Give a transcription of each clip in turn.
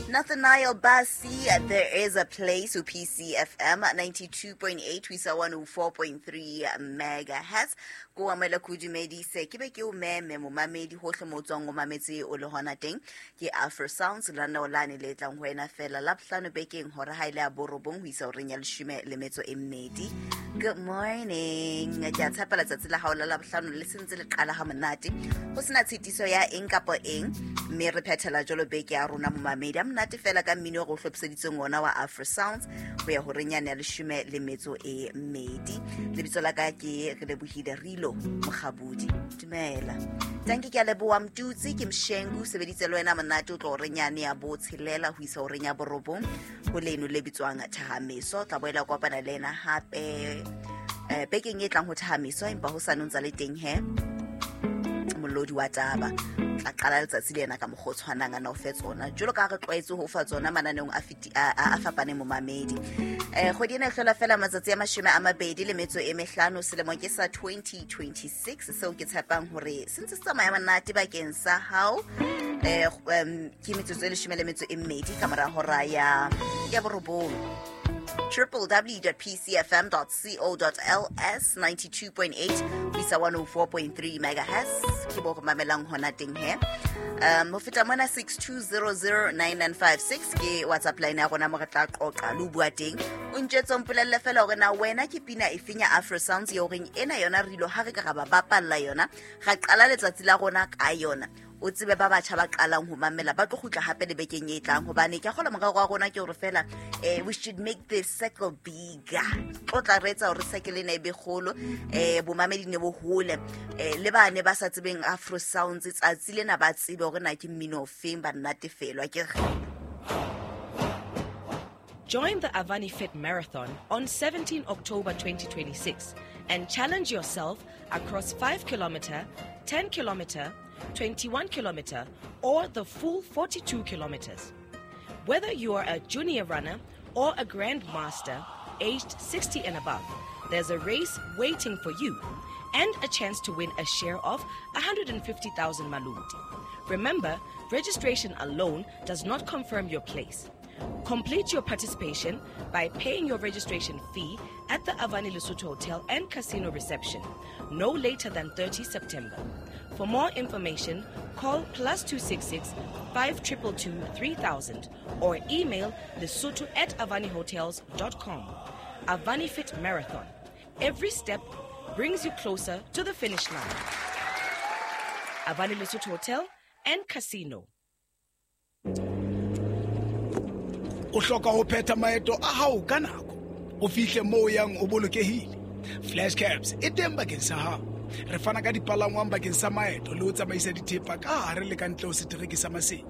Nathaniel Bassey, There Is a Place ho PCFM 92.8 ho isa 104.3 megahertz. Ko amohela ko dumedise ke be ke o meme momamedi hohle mo o tswang o mametse o le hona teng. Ke Afro Sounds lenaneo lane le tlang ho wena fela Labohlano bekeng hora ha ile ya borobong ho isa horeng ya leshome le metso e mmedi. Good morning. Ke a tshepa letsatsi la hao la Labohlano le sentse le qala ha monate ho sena tshitiso ya eng kapa eng, mme re phethela jwalo beke ya rona momamedi a monate fela ka mmino o re o hlophiseditseng ona wa Afro Sounds ho ya horeng yane ya leshome le metso e mmedi. Lebitso la ka ke re lebohile Rilo Mokgabudi. Dumela. Tanki, ke a leboha Mtutsi ke Mshengu sebeditse le wena monate o tlo horeng yane ya botshelela ho isa horeng ya borobong ho leno le bitswang Thahameso. Tla boela kopana le ena hape bekeng e tlang ho Thahameso, empa ho sa ntsa le teng he molodi wa taba tla qala letsatsi le ena ka mokgwa o tshwanang a na o fe tsona jwalo ka ha re tlwaetse ho fa tsona mananeong a fapaneng momamedi. Kgwedi ena e hlola fela matsatsi a 25 selemong ke sa 2026, seo ke tshepang hore se ntse se tsamaya monate bakeng sa hao. Ke metsotso e 12 ka mora hora ya borobong. www.pcfm.co.ls 92.8 ho isa 104.3 megahertz ke bo re mamelang hona teng he. Ho feta mona, 62009956 ke WhatsApp line ya rona mo re tla qoqa le ho bua teng. O ntjetse, o mpolelle fela hore na wena ke pina e feng ya Afro Sounds ya horeng ena yona re ilo ha re ka ra ba bapalla yona, ra qala letsatsi la rona ka yona. O tsebe ba batjha ba qalang ho mamela ba tlo kgutla hape le bekeng e tlang, hobane ke a kgolwa morero wa rona ke hore fela we should make the circle bigger. Tlo tla re etsa hore circle ena e be kgolo, bomamedi ne bo hole, le ba ne ba sa tsebeng Afro Sounds tsatsi lena ba tsebe hore na ke mmino ofeng, ba nnatefelwa ke re. Join the Avani Fit Marathon on 17 October 2026 and challenge yourself across 5 kilometer, 10 kilometer, 21 kilometer, or the full 42 kilometers. Whether you are a junior runner or a grandmaster aged 60 and above, there's a race waiting for you and a chance to win a share of 150,000 maloti. Remember, registration alone does not confirm your place. Complete your participation by paying your registration fee at the Avani Lesotho Hotel and Casino reception no later than 30 September. For more information, call +266 5222 3000 or email lesotho@avanihotels.com. Avani Fit Marathon. Every step brings you closer to the finish line. Avani Lesotho Hotel and Casino. O hloka ho phetha maeto a hao ka nako, o fihle moo o yang o bolokehile. Flash Cabs e teng bakeng sa hao. Re fana ka dipalangwang bakeng sa maeto le ho tsamaisa dithepa ka hare le ka ntle ho setereke sa Maseru,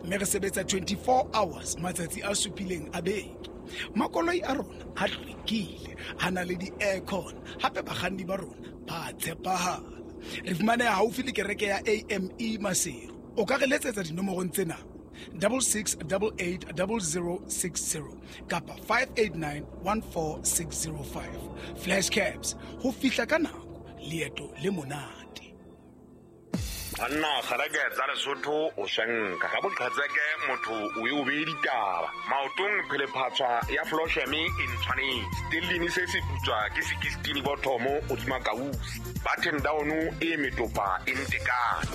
mme re sebetsa 24 hours matsatsi a supileng a beke. Makoloi a rona a hlwekile, a na le di-aircon, hape bakganni ba rona ba tshepahala. Re fumaneha haufi le kereke ya AME Maseru. O ka re letsetsa dinomorong tsena: 66880060 kapa 58914605. Flash Cabs, ho fihla ka nako, leeto le monate. Banna, kgaleke tsa Lesotho o shenka ga boqhetseke motho o e o beye ditaba maotong. Phelephatswa ya flosheme e ntshwanetse stellini se se putswa ke sekistini bothomo godima kausi button down e metopa e ntekane.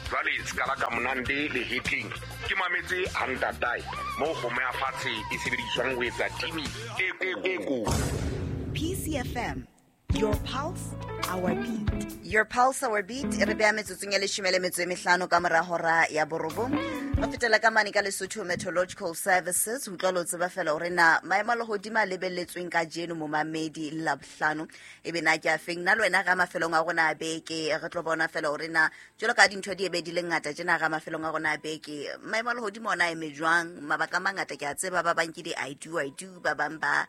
Jwale se ka la ka monande le hetleng ke mametse hantatae mo kgomo ya fatshe e sebediswang ho etsa timi e kotsi. PCFM, your pulse, our beat. Your pulse, our beat. Re beha metsotsong ya 15 ka mora hora ya borobong. Re fetela ka mane ka Lesotho Meteorological Services ho utlwa le ho tseba fela hore na maemo a lehodimo a lebelletsweng kajeno momamedi Labohlano e be na ke a feng. Nna le wena ga mafelong a rona a beke re tlo bona fela hore na jwalo ka dintho di ebe di le ngata tjena ga mafelong a rona a beke maemo a lehodimo ona a eme jwang. Mabaka a mangata ke a tseba, ba bang ke di I do, I do, ba bang ba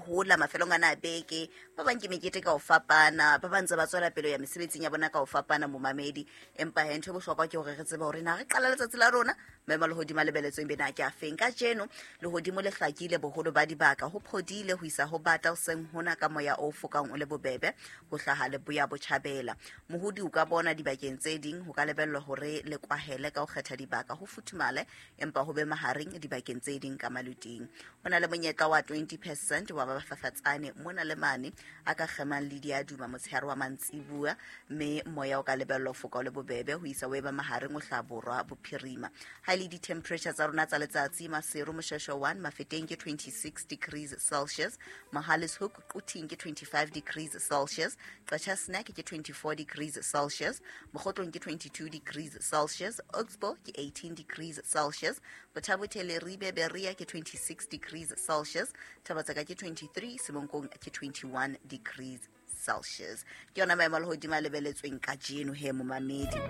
hola mafelong ana a beke, ba bang ke mekete ka ho fapana, ba bang ntse ba tswela pele ho ya mesebetsing ya bona ka ho fapana momamedi. Empa he, ntho e bohlokwa ke hore re tsebe hore na re qala letsatsi la rona. Maemo a lehodimo a lebeletsweng bena ke a feng? Kajeno lehodimo le hlakile boholo ba dibaka, ho phodile ho isa ho bata hoseng hona ka moya o fokang o le bobebe ho hlaha leboya botjhabela. Mohodi o ka bona dibakeng tse ding, ho ka lebellwa hore le kwahele ka ho kgetha dibaka, ho futhumale empa ho be mahareng dibakeng tse ding ka maluting. Ho na le monyetla wa 20% wa ba bafafatsane mona le mane a ka kgemang le diaduma motshehare wa mantsibua, mme moya o ka lebellwa ho foka o le bobebe ho isa o eba mahareng o hlaha borwa bophirima. Ha e le di-temperature tsa rona tsa letsatsi, Maseru Moshweshwe 1, Mafeteng ke 26 degrees Celsius, Mohale's Hoek Quthing ke 25 degrees Celsius, Qacha's Nek ke 24 degrees Celsius, Mokhotlong ke 22 degrees Celsius, Oxbow ke 18 degrees Celsius, Botha-Bothe Leribe Berea ke 26 degrees Celsius, Thaba-Tseka ke 23, Semonkong ke 21 degrees Celsius. Ke yona maemo a lehodimo a lebeletsweng kajeno he momamedi.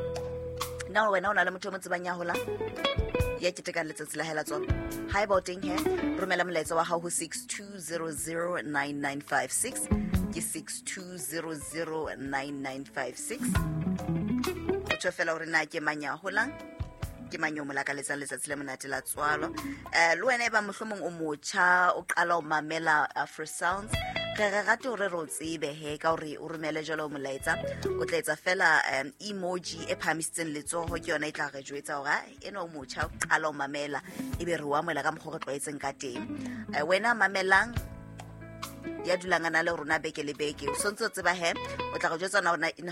Na wena o na le motho o mo tsebang ya holang ya ketekang letsatsi la hae la tswalo? Haeba o teng he, romela molaetsa wa hao ho 62009956, ke 62009956. O tjho fela hore na ke mang ya holang, ke mang yo mo lakaletsang letsatsi le monate la tswalo. Le wena e ba mohlomong o motjha, o qala ho mamela Afro Sounds, re re rate hore re o tsebe he ka hore o romele jwalo molaetsa. O tla etsa fela emoji e phahamisitseng letsoho, ke yona e tla re jwetsa hore ena o motjha, o qala ho mamela, ebe re o amohela ka mokgwa o re tlwaetseng ka teng. Wena mamelang ya dulang a na le rona beke le beke, o sontse o tseba he, o tla re jwetsa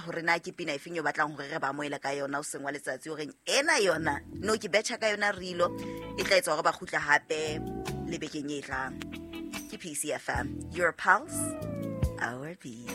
hore na ke pina efeng eo batlang hore re ba amohele ka yona o seng wa letsatsi, horeng ena yona no ke betjha ka yona rilo e tla etsa hore ba kgutla hape le bekeng e tlang. Ke PCFM, your pulse, our beat.